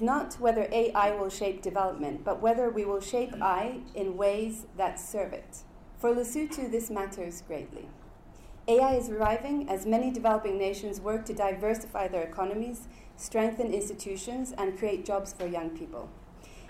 Not whether AI will shape development, but whether we will shape AI in ways that serve it. For Lesotho, this matters greatly. AI is arriving as many developing nations work to diversify their economies, strengthen institutions, and create jobs for young people.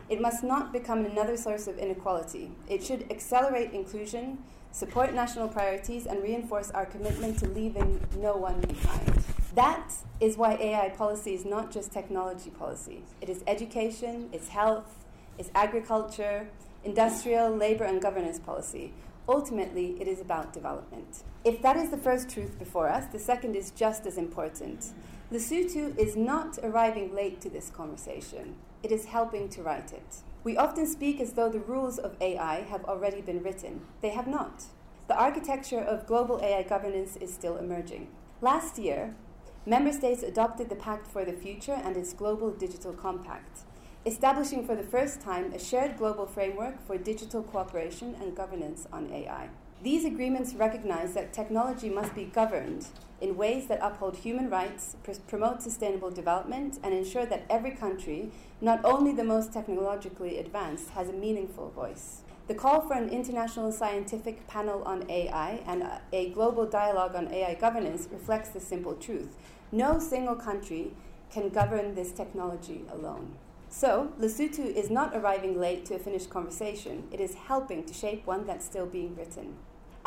It must not become another source of inequality. It should accelerate inclusion, support national priorities, and reinforce our commitment to leaving no one behind. That is why AI policy is not just technology policy. It is education, it's health, it's agriculture, industrial, labor, and governance policy. Ultimately, it is about development. If that is the first truth before us, the second is just as important. Lesotho is not arriving late to this conversation. It is helping to write it. We often speak as though the rules of AI have already been written. They have not. The architecture of global AI governance is still emerging. Last year, member states adopted the Pact for the Future and its Global Digital Compact, establishing for the first time a shared global framework for digital cooperation and governance on AI. These agreements recognize that technology must be governed in ways that uphold human rights, promote sustainable development, and ensure that every country, not only the most technologically advanced, has a meaningful voice. The call for an international scientific panel on AI and a global dialogue on AI governance reflects the simple truth. No single country can govern this technology alone. So, Lesotho is not arriving late to a finished conversation. It is helping to shape one that's still being written.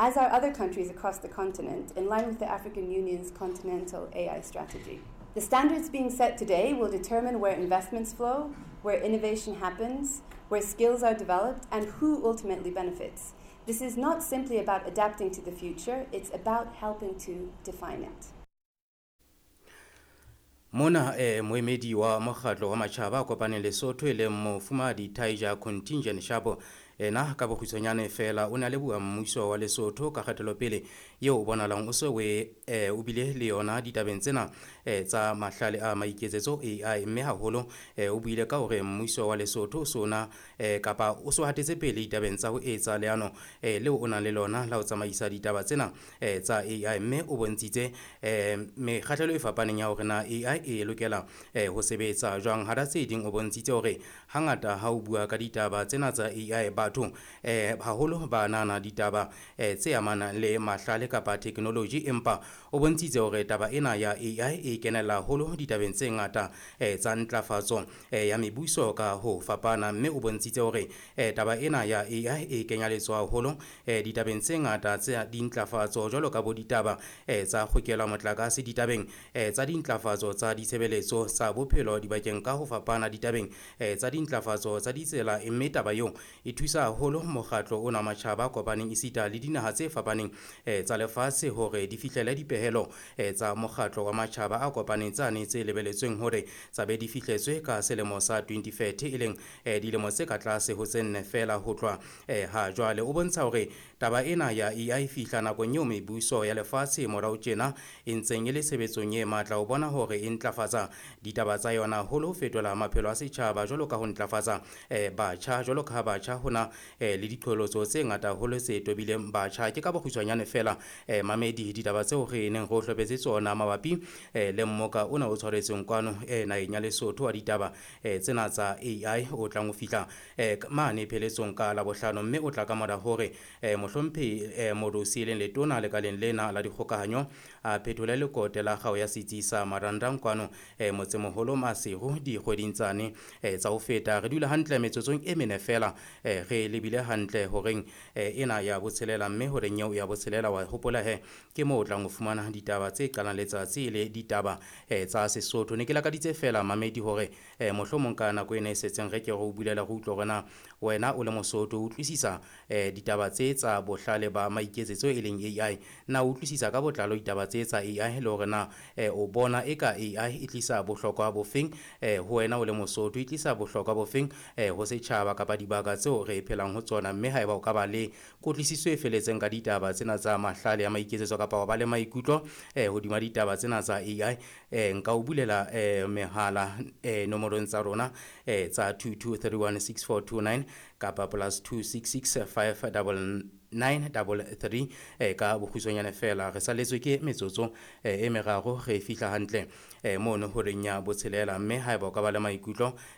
As are other countries across the continent, in line with the African Union's continental AI strategy. The standards being set today will determine where investments flow, where innovation happens, where skills are developed, and who ultimately benefits. This is not simply about adapting to the future, it's about helping to define it. Mona moemedi wa mokgatlo wa matjhaba a kopaneng Lesotho e leng mofumahadi Taija Contingent Shapo ena ka bokgutshwanyane fela o ne a leboha mmuso wa Lesotho ka kgatelopele eo o bonahalang o se o bile le yona ditabeng tsena tsa mahlale a maiketsetso AI, mme haholo o buile ka hore mmuso wa Lesotho o sona kapa o so hatetse pele ditabeng tsa ho etsa leano leo o nang le lona la ho tsamaisa ditaba tsena tsa AI, mme o bontshitse mekgahlelo e fapaneng ya hore na AI e lokela ho sebetsa jwang. Hara tse ding o bontshitse hore hangata ha o bua ka ditaba tsena tsa AI batho haholo ba nahana ditaba tse amanang le mahlale kapa technology, empa o bontshitse hore taba ena ya AI e kenella haholo ditabeng tse ngata tsa ntlafatso ya mebuso ka ho fapana, mme o bontshitse hore taba ena ya AI e kenya letsoho haholo ditabeng tse ngata tsa dintlafatso jwalo ka bo ditaba tsa kgokelo ya motlakase, ditabeng tsa dintlafatso tsa ditshebeletso tsa bophelo dibakeng ka ho fapana, ditabeng tsa dintlafatso tsa ditsela, mme taba eo e thusa haholo mokgatlo ona wa matjhaba a kopaneng esita le dinaha tse fapaneng tsa lefatshe hore di fihlele dipehelo tsa mokgatlo wa matjhaba a kopaneng tsane tse lebeletsweng hore tsa be di fihletswe ka selemo sa 2030, e leng dilemo tse ka tlase ho tse nne fela ho tloha ha jwale. O bontsha hore taba ena ya AI e fihla nakong eo mebuso ya lefatshe morao tjena e ntseng e le tshebetsong e matla ho bona hore e ntlafatsa ditaba tsa yona haholo ho fetola maphelo a setjhaba jwalo ka ho ntlafatsa batjha, jwalo ka ha batjha hona le diqholotso tse ngata haholo tse tobileng batjha. Ke ka bokgutshwanyane fela mamedi ditaba tseo re neng re o hlopetse tsona mabapi le mmoka ona o tshwaretsweng kwano naheng ya Lesotho wa ditaba tsena tsa AI o tlang ho fihla mane pheletsong ka Labohlano, mme o tla ka mora hore mohlomphehi Morusi e leng letona lekaleng lena la dikgokahanyo a phethole lekote la kgao ya setsi sa Marangrang kwano motsemoholo Maseru dikgweding tsane tsa ho feta. Re dula hantle metsotsong e mene fela re lebile hantle horeng ena ya botshelela, mme horeng eo ya botshelela wa hopola he ke moo o tlang ho fumana ditaba tse qalang letsatsi le ditaba tsa Sesotho. Ne ke lakaditse fela mamedi hore mohlomong ka nako ena e setseng re ke re o bulela re utlwe hore na wena o le Mosotho o utlwisisa ditaba tse tsa bohlale ba maiketsetso e leng AI, na o utlwisisa ka botlalo ditaba tse tsa AI le hore na o bona eka AI e tlisa bohlokwa bofeng ho wena o le Mosotho, e tlisa bohlokwa bofeng ho setjhaba kapa dibaka tseo re phelang ho tsona, mme haeba o ka ba le kutlwisiso e feletseng ka ditaba tsena tsa mahlale a maiketsetso kapa wa ba le maikutlo hodima ditaba tsena tsa AI, nka o bulela mehala nomorong tsa rona tsa 22316429 kapa +266 5 933. Ka bokgutshwanyane fela, re saletswe ke metsotso e meraro re fihla hantle mono horeng ya botshelela, mme haeba o ka ba le maikutlo.